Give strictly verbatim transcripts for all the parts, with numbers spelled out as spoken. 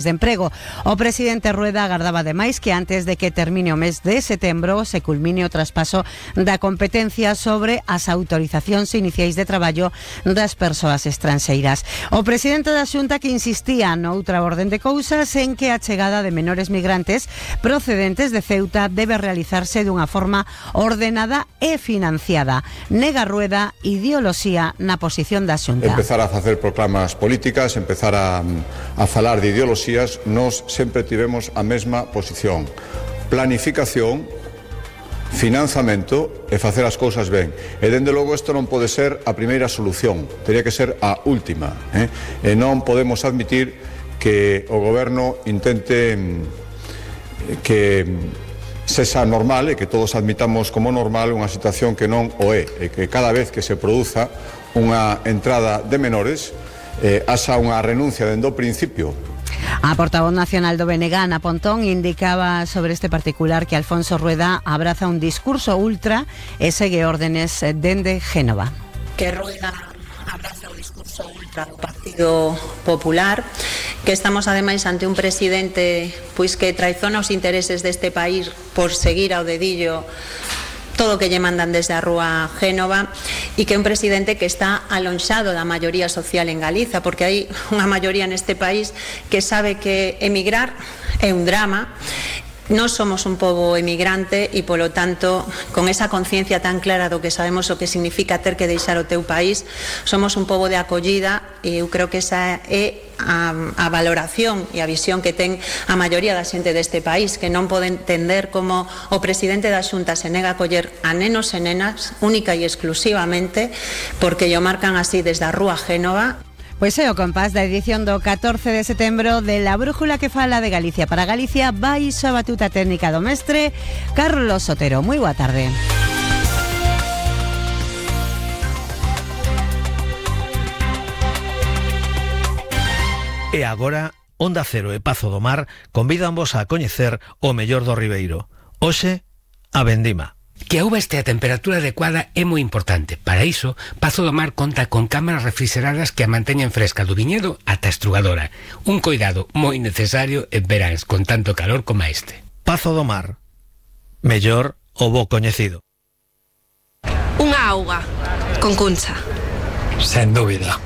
de emprego. O presidente Rueda agardaba ademais que antes de que termine o mes de setembro se culmine o traspaso da competencia sobre as autorizacións iniciais de traballo das persoas estranxeiras. O presidente da Xunta que insistía noutra orden de cousas en que a chegada de menores migrantes procedentes de Ceuta debe realizarse dunha forma ordenada e financiada. Nega Rueda ideoloxía na posición da Xunta. Empezar a facer proclamas políticas, empezar a, a falar de ideoloxía. Nós sempre tivemos a mesma posición: planificación, financiamento e facer as cousas ben. E dende logo isto non pode ser a primeira solución, teria que ser a última, eh? E non podemos admitir que o goberno intente que sexa normal e que todos admitamos como normal unha situación que non o é, e que cada vez que se produza unha entrada de menores eh, haxa unha renuncia dende o principio. A portavoz nacional do B N G, Ana Pontón, indicaba sobre este particular que Alfonso Rueda abraza un discurso ultra e segue órdenes dende Génova. Que Rueda abraza o discurso ultra do Partido Popular, que estamos ademais ante un presidente pois que traizona os intereses deste país por seguir ao dedillo todo o que lle mandan desde a rúa Génova, e que é un presidente que está alonxado da maioría social en Galiza, porque hai unha maioría neste país que sabe que emigrar é un drama. Nós somos un pobo emigrante e, polo tanto, con esa conciencia tan clara do que sabemos o que significa ter que deixar o teu país, somos un pobo de acollida, e eu creo que esa é a, a valoración e a visión que ten a maioría da xente deste país, que non pode entender como o presidente da Xunta se nega a coller a nenos e nenas única e exclusivamente porque lle marcan así desde a rúa Génova. Pois é o compás da edición do catorce de setembro de La Brújula que fala de Galicia para Galicia, baixo a batuta técnica do mestre Carlos Sotero. Moi boa tarde. E agora, Onda Cero e Pazo do Mar convídanvos a coñecer o mellor do Ribeiro. Hoxe, a vendima. Que a uva este a temperatura adecuada é moi importante. Para iso, Pazo do Mar conta con cámaras refrigeradas que a manteñen fresca do viñedo ata a estrugadora. Un coidado moi necesario en veráns con tanto calor como este. Pazo do Mar. Mellor o bo coñecido. Unha auga con cuncha. Sen dúbida.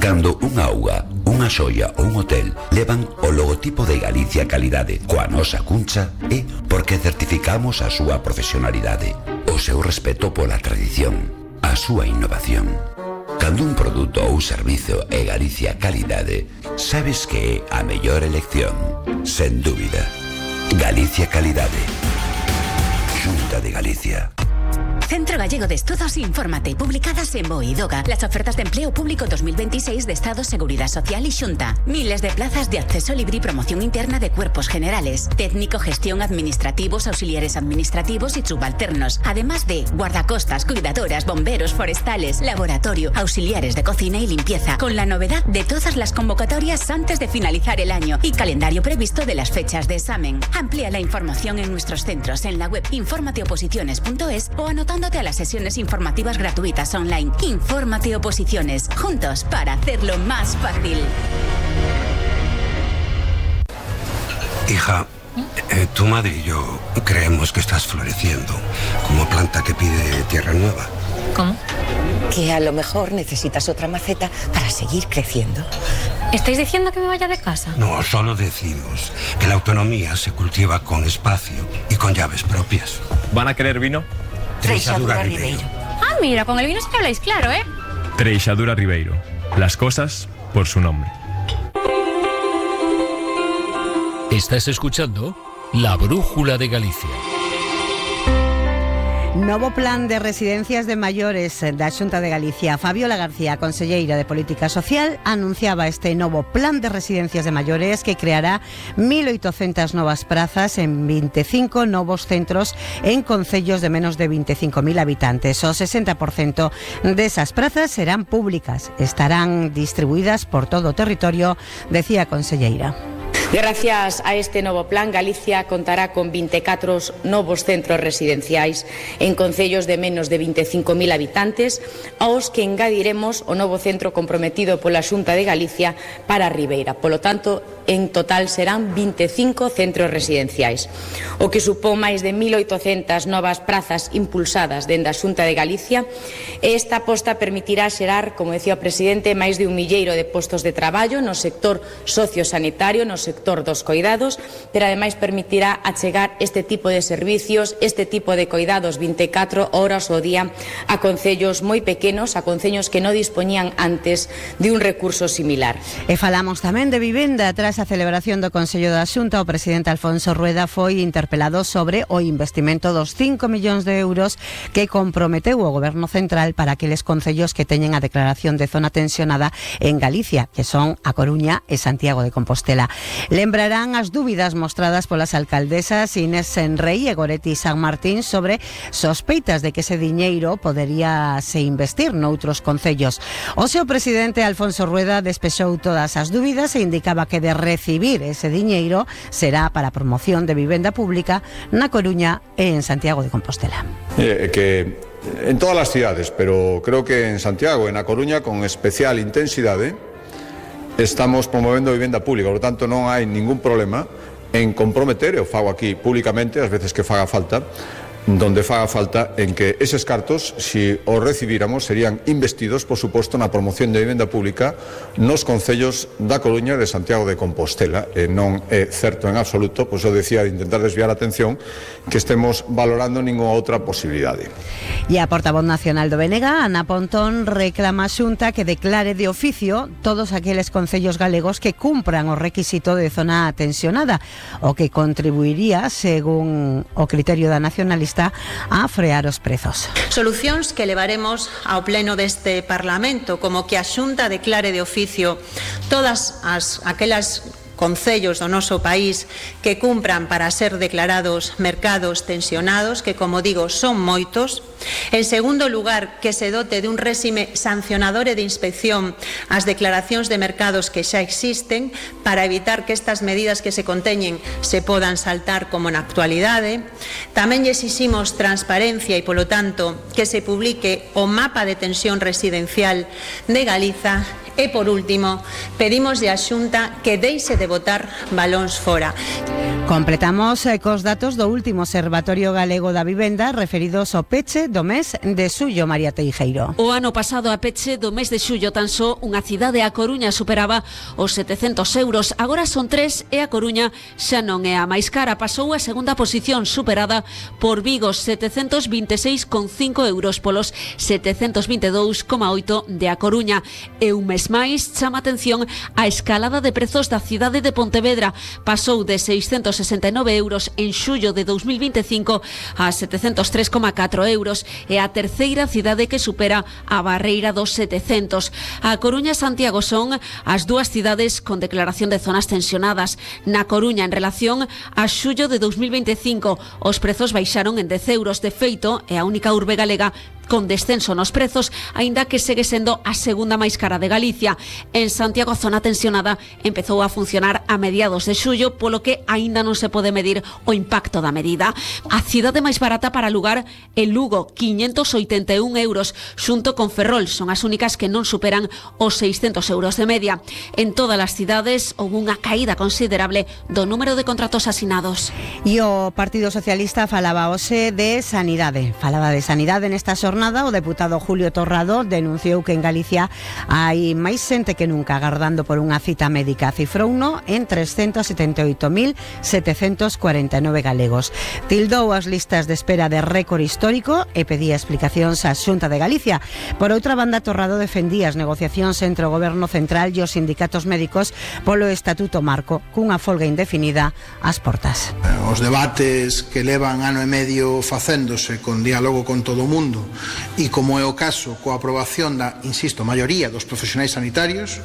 Cando unha auga, unha xoia ou un hotel levan o logotipo de Galicia Calidade coa nosa cuncha, é porque certificamos a súa profesionalidade, o seu respeto pola tradición, a súa innovación. Cando un produto ou servizo é Galicia Calidade, sabes que é a mellor elección, sen dúbida. Galicia Calidade. Xunta de Galicia. Centro Gallego de Estudos, infórmate. Publicadas en BOE y DOGA. Las ofertas de empleo público dos mil veintiséis de Estado, Seguridad Social y Xunta. Miles de plazas de acceso libre y promoción interna de cuerpos generales. Técnico, gestión, administrativos, auxiliares administrativos y subalternos. Además de guardacostas, cuidadoras, bomberos, forestales, laboratorio, auxiliares de cocina y limpieza. Con la novedad de todas las convocatorias antes de finalizar el año y calendario previsto de las fechas de examen. Amplía la información en nuestros centros en la web infórmateoposiciones punto es o anotando a las sesiones informativas gratuitas online. Infórmate Oposiciones, juntos para hacerlo más fácil. Hija, eh, tu madre y yo creemos que estás floreciendo como planta que pide tierra nueva. ¿Cómo? Que a lo mejor necesitas otra maceta para seguir creciendo. ¿Estáis diciendo que me vaya de casa? No, solo decimos que la autonomía se cultiva con espacio y con llaves propias. ¿Van a querer vino? Treixadura Ribeiro. Ah, mira, con el vino sí que habláis claro, ¿eh? Treixadura Ribeiro. Las cosas por su nombre. Estás escuchando La Brújula de Galicia. Novo plan de residencias de maiores da Xunta de Galicia. Fabiola García, conselleira de Política Social, anunciaba este novo plan de residencias de maiores que creará mil oitocentas novas prazas en veinticinco novos centros en concellos de menos de veinticinco mil habitantes. O sesenta por ciento desas prazas serán públicas. Estarán distribuídas por todo o territorio, decía a conselleira. Gracias a este novo plan, Galicia contará con vinte e catro novos centros residenciais en concellos de menos de vinte e cinco mil habitantes, aos que engadiremos o novo centro comprometido pola Xunta de Galicia para a Ribeira. Polo tanto, en total serán vinte e cinco centros residenciais, o que supón máis de mil oitocentas novas prazas impulsadas dende a Xunta de Galicia. Esta aposta permitirá xerar, como decía o presidente, máis de un milleiro de postos de traballo no sector sociosanitario, no sector dos coidados, pero ademais permitirá achegar este tipo de servicios, este tipo de coidados vinte e catro horas ao día a concellos moi pequenos, a concellos que non dispoñían antes de un recurso similar. E falamos tamén de vivenda. Tras a celebración do Consello da Xunta, o presidente Alfonso Rueda foi interpelado sobre o investimento dos cinco millóns de euros que comprometeu o Goberno Central para aqueles concellos que teñen a declaración de zona tensionada en Galicia, que son A Coruña e Santiago de Compostela. Lembrarán as dúbidas mostradas polas alcaldesas Inés Senrei e Goretti San Martín sobre sospeitas de que ese diñeiro podería se investir noutros concellos. O seu presidente Alfonso Rueda despexou todas as dúbidas e indicaba que de recibir ese diñeiro será para a promoción de vivenda pública na Coruña e en Santiago de Compostela. Eh, que en todas as cidades, pero creo que en Santiago e na Coruña con especial intensidade estamos promovendo vivenda pública, por lo tanto non hai ningún problema en comprometer, e o fago aquí públicamente as veces que faga falta, donde faga falta, en que eses cartos, si os recibíramos, serían investidos, por suposto, na promoción de vivenda pública nos concellos da Coruña e de Santiago de Compostela. E non é certo en absoluto, pois eu decía, de intentar desviar a atención, que estemos valorando ninguna outra posibilidade. E a portavoz nacional do B N G, Ana Pontón, reclama a Xunta que declare de oficio todos aqueles concellos galegos que cumpran o requisito de zona tensionada, o que contribuiría, según o criterio da nacionalista, a frear os prezos. Solucións que levaremos ao pleno deste Parlamento, como que a Xunta declare de oficio todas as aquelas concellos do noso país que cumpran para ser declarados mercados tensionados, que, como digo, son moitos. En segundo lugar, que se dote de un réxime sancionador e de inspección as declaracións de mercados que xa existen para evitar que estas medidas que se conteñen se podan saltar como na actualidade. Tamén lle exiximos transparencia e, polo tanto, que se publique o mapa de tensión residencial de Galiza. E, por último, pedimos a Xunta que deixe de botar balóns fora. Completamos eh, cos datos do último Observatorio Galego da Vivenda referidos ao peche do mes de xullo, María Teijeiro. O ano pasado a peche do mes de xullo tan só unha cidade, a Coruña, superaba os setecentos euros. Agora son tres e a Coruña xa non é a máis cara. Pasou a segunda posición, superada por Vigo, setecentos vinte e seis coma cinco euros polos setecentos vinte e dous coma oito de a Coruña. E un mes máis chama atención a escalada de prezos da cidade de Pontevedra. Pasou de seiscentos sesenta e nove euros en xullo de dous mil vinte e cinco a setecentos tres coma catro euros. É a terceira cidade que supera a barreira dos setecentos. A Coruña e Santiago son as dúas cidades con declaración de zonas tensionadas. Na Coruña, en relación a xullo de dous mil vinte e cinco, os prezos baixaron en dez euros. De feito, é a única urbe galega con descenso nos prezos, aínda que segue sendo a segunda máis cara de Galicia. En Santiago, a zona tensionada empezou a funcionar a mediados de xullo, polo que aínda non se pode medir o impacto da medida. A cidade máis barata para alugar é Lugo, quinhentos oitenta e un euros, xunto con Ferrol, son as únicas que non superan os seiscentos euros de media. En todas as cidades houve unha caída considerable do número de contratos asinados. E o Partido Socialista falaba hoxe de sanidade. Falaba de sanidade nesta xornada. O deputado Julio Torrado denunciou que en Galicia hai máis xente que nunca agardando por unha cita médica. Cifrouno en trescentos setenta e oito mil setecentos cuarenta e nove galegos. Tildou as listas de espera de récord histórico e pedía explicacións á Xunta de Galicia. Por outra banda, Torrado defendía as negociacións entre o Goberno Central e os sindicatos médicos polo Estatuto Marco, cunha folga indefinida ás portas. Os debates que levan ano e medio facéndose con diálogo con todo o mundo e, como é o caso, coa aprobación da, insisto, maioría dos profesionais sanitarios,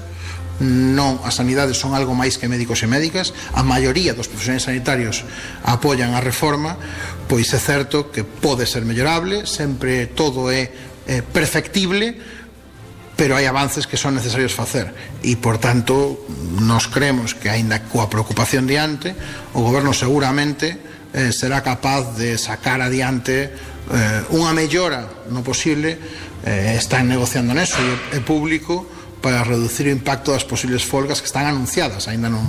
non, as sanidades son algo máis que médicos e médicas, a maioría dos profesionais sanitarios apoian a reforma, pois é certo que pode ser mellorable, sempre todo é, é perfectible, pero hai avances que son necesarios facer e, por tanto, nos creemos que, aínda coa preocupación diante, o Goberno seguramente eh, será capaz de sacar adiante eh, unha mellora no posible. Eh, están negociando neso e é público para reducir o impacto das posibles folgas que están anunciadas, aínda non,